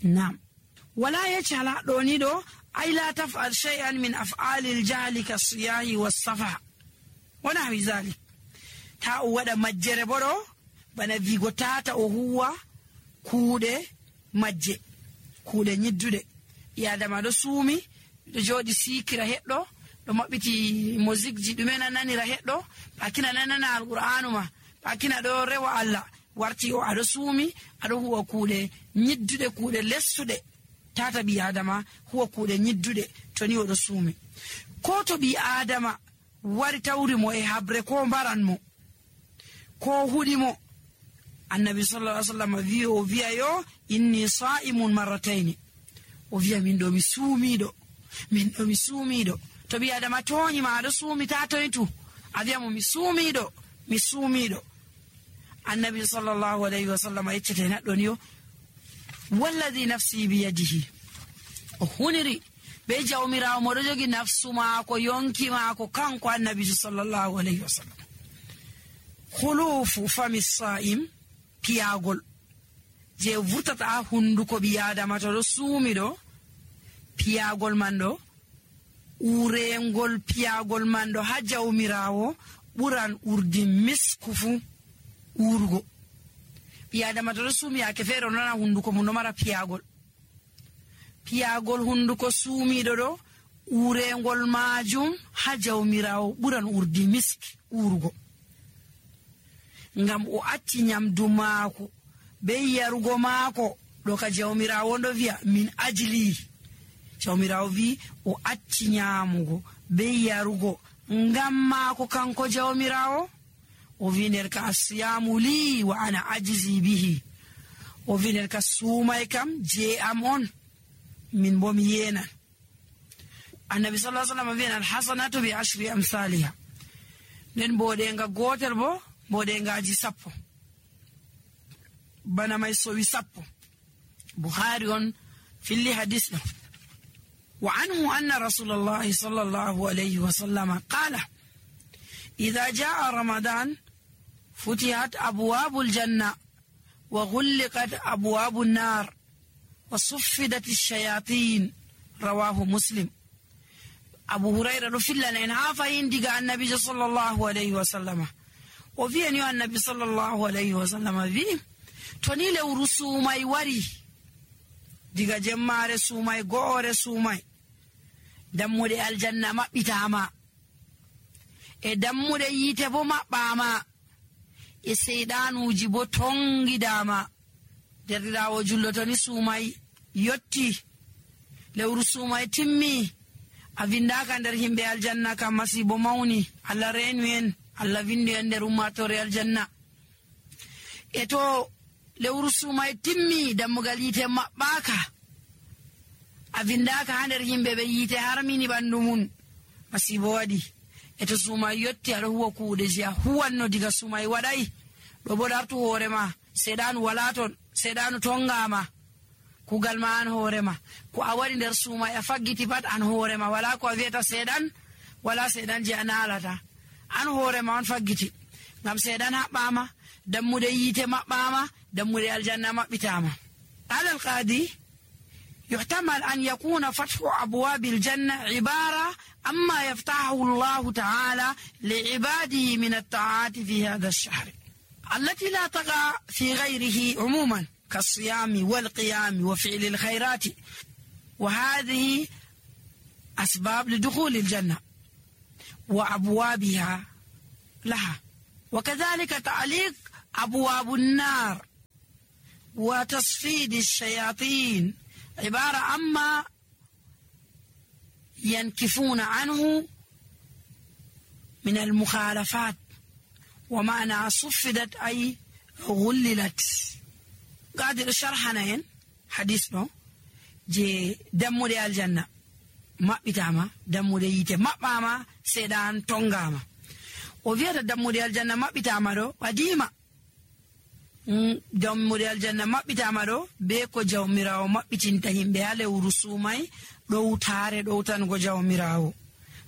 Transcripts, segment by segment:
Naam. Wala yajhala ɗoni ɗo ay la taf'al shay'an min af'alil jahli kas-siyahi was-safa wa nahwi zalik. Ta o waɗa majjere bo ɗo bana vigo tata o huwa kuuɗe majje, kuuɗe nyidduɗe. Adama ɗo suumi ɗo jooɗi sikira heɗɗo, ɗo maɓɓiti musique ji ɗume nananira heɗɗo, pakina nanana alqur'anu ma, pakina ɗo rewa Allah, warti o aɗo suumi aɗo huwa kuuɗe nyidduɗe, kuuɗe lessuɗe. Tata ɓi adama huwa kuuɗe nyidduɗe to ni oɗo suumi. Ko to ɓi adama wari tawri mo e habre ko mbaran mo ko huɗi mo, annabi sallallahu alaihi wasallam o wiya yo inni sa'imun marrataini, o wiya min ɗo mi suumiɗo. To ɓi adama toñi ma aɗo suumi ta toytu, a wiya mo mi suumiɗo. Annabi sallallahu alaihi wasallam yeccete neɗɗo ni yo walladi nafsi biyadihi, o huniri be jawmirawo mo ɗo jogi nafsu maako yonki maako kanko annabi sallallahu alaihi wasallam. khulufu fami sa'im, piyagol je vurtata ha hunduko ɓi adama to ɗo suumi ɗo, piyagol man ɗo, urengol piyagol man ɗo ha jawmirawo ɓuran urdi misku fu urgo. ɓi adama to ɗo suumi yake feere nana hunduko mum ɗo mara piyagol hunduko suumiɗo ɗo urengol majum ha jawmirawo ɓuran urdi misk urgo, ngam o acci nyamdu maako be yarugo maako ɗo ka jawmirawo ndo wiya min ajli. Jawmirawo wi o acci nyamugo be yarugo ngam maako kanko jawmirawo. O wi nder ka asiyamu li wa ana ajzi bihi, o wi nder ka suumay kam je am on, min bo mi yenan. Annabi sallallahu alaihi wasallam wiyan alhasanatu bi ashri amsaliha, nden boɗenga gotel bo boɗengaji 10, bana may sowi 10. Bukhari on filli hadis ɗo. Wa anhu anna rasulullahi sallallahu alaihi wasallam qala idha jaa ramadan futihat abwabul janna wa ghulqat abwabun nar wa suffidat ash-shayatin, rawahu Muslim. Abu Hurairah do fillana en ha fayin diga annabi sallallahu alaihi wasallam o wi'ani annabi sallallahu alaihi wasallam wi to ni lewru suumay wari diga jemmare suumay go'ore suumay, dammude aljanna maɓɓitama e dammude yite bo maɓɓama e seydanuji bo tongidama. Derɗirawo jullo to ni suumay yotti, lewru suumay timmi, a vindaka nder himɓe aljanna kam masibo mawni. Allah renu en, Allah vindi en nder ummatore aljanna. E to lewru suumay timmi dammugal yite maɓɓaka, a vindaka ha nder himɓe ɓe yite harmini ɓandu mun, masibo waɗi. E to suumay yotti aɗo huwa kuuɗe je a huwanno diga suumay waɗay ɗo bo dartu hoorema, seɗanu wala ton, seɗanu tongama, kugal ma an hoorema, ko a waɗi nder suumay a faggiti pat an hoorema, wala ko a wiyata seɗan, wala seɗan je a nalata, an hoorema on faggiti, ngam seɗan haɓɓama, dammude yite maɓɓama, dammude aljanna maɓɓitama. Ala alqadi يحتمل أن يكون فتح أبواب الجنة عبارة عما يفتحه الله تعالى لعباده من الطاعات في هذا الشهر التي لا تقع في غيره عموما كالصيام والقيام وفعل الخيرات، وهذه أسباب لدخول الجنة وأبوابها لها. وكذلك تعليق أبواب النار وتصفيد الشياطين عبارة عما ينكفون عنه من المخالفات، ومعنى صفدت أي غللت. قادر شرحنا حديثنا جي دمو دي الجنة ما بتاما دمو دي يتي ما باما سيدان تونغاما، وفيها دمو دي الجنة ما بتاما دو قديمة dammude aljanna maɓɓitama ɗo be ko jawmirawo maɓɓitinta himɓe ha lewru suumay ɗowtare ɗowtango jawmirawo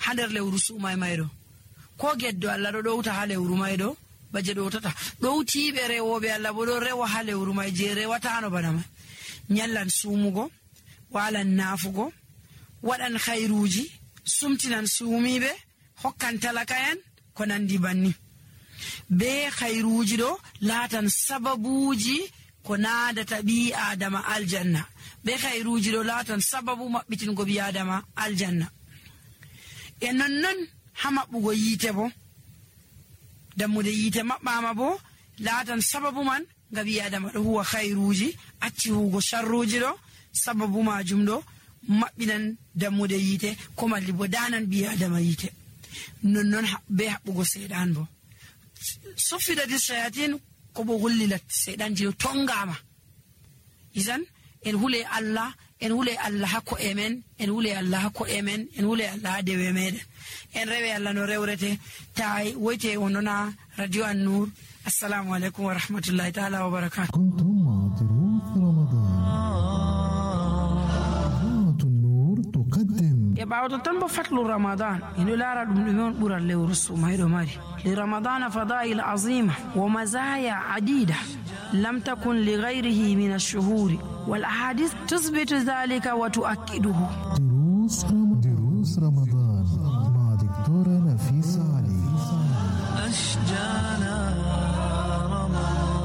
ha nder lewru suumay may ɗo, ko geddo Allah ɗo ɗowta ha lewru may ɗo baje ɗowtata ɗowtiɓe rewoɓe Allah bo ɗo rewa ha lewru may je rewatano bana may. nyallan sumugo walan nafugo wadan khairuji sumtinan sumibe hokkan talakayan ko nandi banni be khairuji do latan sababuji ko naadata bi adama aljanna be khairuji do latan sababu mabbitingo bi adama aljanna e non hamabbugo yite bo dammude yite mabbama bo latan sababu man gabi adama do huwa khairuji acci hugo sharruji do sababu majum do mabbinan dammude yite ko malli bo danan bi adama yite non be habbugo sedan bo sufida di shayatin ko bo gullilat sedan jiro tongama izan en hule Allah hakko emen en hule Allah hakko emen en hule Allah dewe meden en rewe Allah no rewrete tay woyte onona radio an-nur assalamu alaikum wa rahmatullahi ta'ala wa barakatuh كنتم مع ضيوف رمضان النور تقدم e bawto tan bo fatlu ramadan ino lara dum on bural lewru sumaydo mari li ramadan fadail azima wa mazaya adida lam takun li ghayrihi min ash-shuhur wal ahadith tuthbitu dhalika wa tu'akkiduhu دروس رمضان مع دكتورة نفيسة علي أشجانا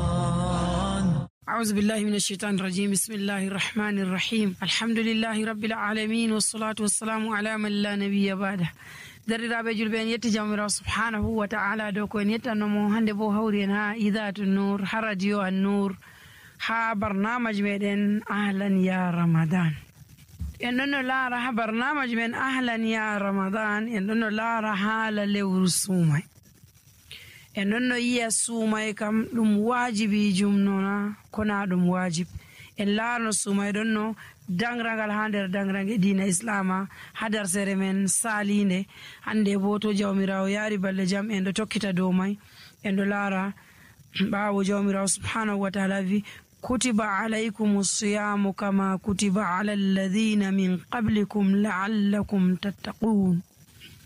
رمضان. أعوذ بالله من الشيطان الرجيم بسم الله الرحمن الرحيم الحمد لله رب العالمين والصلاة والسلام على من لا نبي بعده درiraɓe julɓe en yetti jawmirawo subhanahu wa ta'ala dow ko en yettannomo hande bo hawri en ha idatu nur ha radio an nur ha barnamaji meɗen ahlan ya ramadan en ɗon no laara ha barnamaji men ahlan ya ramadan en ɗon no laara haala lewru suumay en ɗon no yiya suumay kam ɗum waajibijum nona kona ɗum waajib en laarno suumay ɗon no dangrangal ha nder dangrange dina islama ha darsere men salinde hande bo to jawmirawo yaari balɗe jam en ɗo tokkita dow may en ɗo laara ɓawo jawmirawo subhanahu wa ta'ala wi kutiba alaykum as-siyamu kama kutiba ala alladhina min qablikum la'allakum tattaqun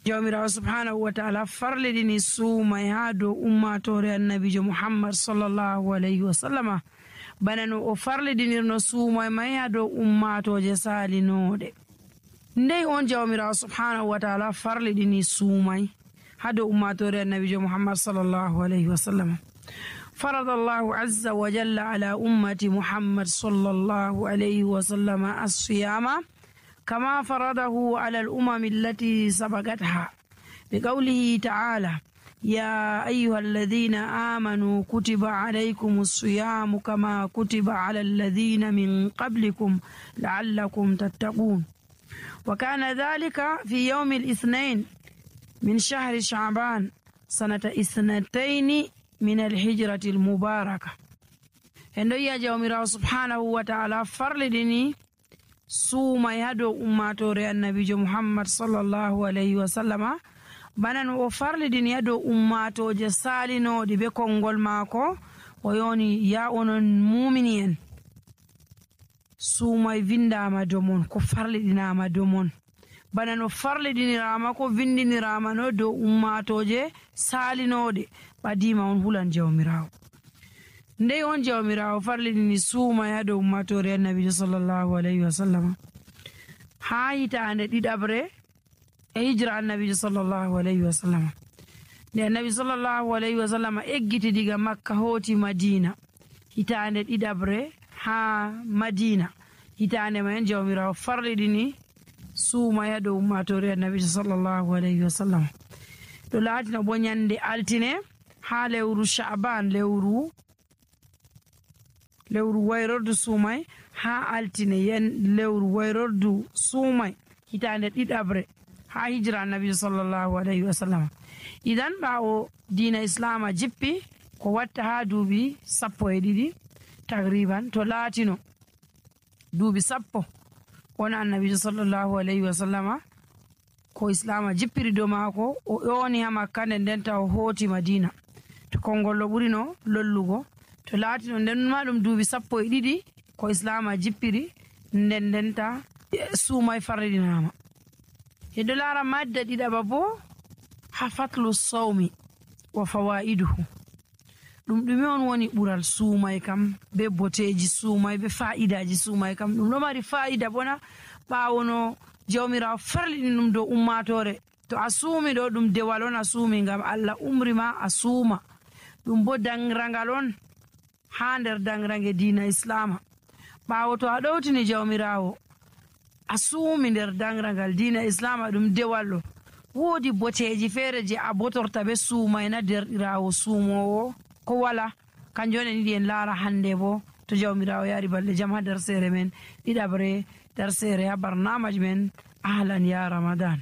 jawmirawo subhanahu wa ta'ala farlidini suumay ha dow ummatore annabijo muhammad sallallahu alayhi wa sallama bana no o farlidinirno suumay may ha dow ummatoje salinoɗe ndey on jawmirawo subhanahu wa ta'ala farlidini suumay ha dow ummatore annabijo muhammad sallallahu alayhi wa sallama فرض الله عز وجل على أمة محمد صلى الله عليه وسلم الصيام كما فرضه على الأمم التي سبقتها بقوله تعالى يا أيها الذين آمنوا كتب عليكم الصيام كما كتب على الذين من قبلكم لعلكم تتقون وكان ذلك في يوم الاثنين من شهر شعبان سنة 2 من الهجرة المباركة هندو يا جوميرا سبحانه وتعالى فرلدني سوما يدو أماتوري النبي محمد صلى الله عليه وسلم بنان وفرلدني يدو أماتو جسالينو دي بكونغول ماكو ويوني يا أونن مؤمنين سوما يفندا ما دومون كو فرلدنا ما دومون bana no farlidinirama ko vindinirama no dow ummatoje salinode ɓadima on hulan jawmirawo ndey on jawmirawo farlidini suuma ya dow ummatore annabijo sallallahu alayhi wa sallam ha hitande ɗiɗabre e hijra annabijo sallallahu alayhi wa sallam nde annabi sallallahu alayhi wa sallam eggiti diga makka hooti madina hitande ɗiɗabre ha madina hitande maen jawmirawo farlidini suuma ya dow ummatore annabi sallallahu alayhi wa sallam to laatina bo nyande altine ha lewru sha'ban lewru wayrordu suumay ha altine yen lewru wayrordu suumay hitande ɗiɗabre ha hijra annabi sallallahu alayhi wa sallam idan ɓawo dina islama jippi ko watta ha duuɓi 12 takriban to laatino duuɓi 10 wona annabijo sallallahu alayhi wa sallama ko islama jippiri dow maako o ƴooni ha makka nden taw hooti madina to kongollo ɓurino lollugo to laatino nden ma ɗum duuɓi 12 ko islama jippiri nden ta suumay farridinama hedo laara madda ɗiɗaɓa bo ha fatlu sawmi wa fawaiduhu ɗume on woni ɓural suumay kam be boteji suumay be fa'idaji suumay kam? ɗum ɗo mari fa'ida bona ɓaawo no jawmirawo farliɗi ɗum dow ummatore. to a suumi ɗo ɗum dewal on a suumi ngam Allah umri ma a suuma. ɗum bo dangrangal on ha nder dangrange diina islama. ɓaawo to a ɗowtini jawmirawo a suumi nder dangrangal diina islama ɗum dewal ɗo, woodi boteji feere je a botorta be suumayna derɗirawo suumowo ko wala. kanjum on en yiɗi en laara hande bo to jawmirawo yaari balɗe jam ha nder seere men ɗiɗabre nder seere ha barnamaji men ahlan ya ramadan.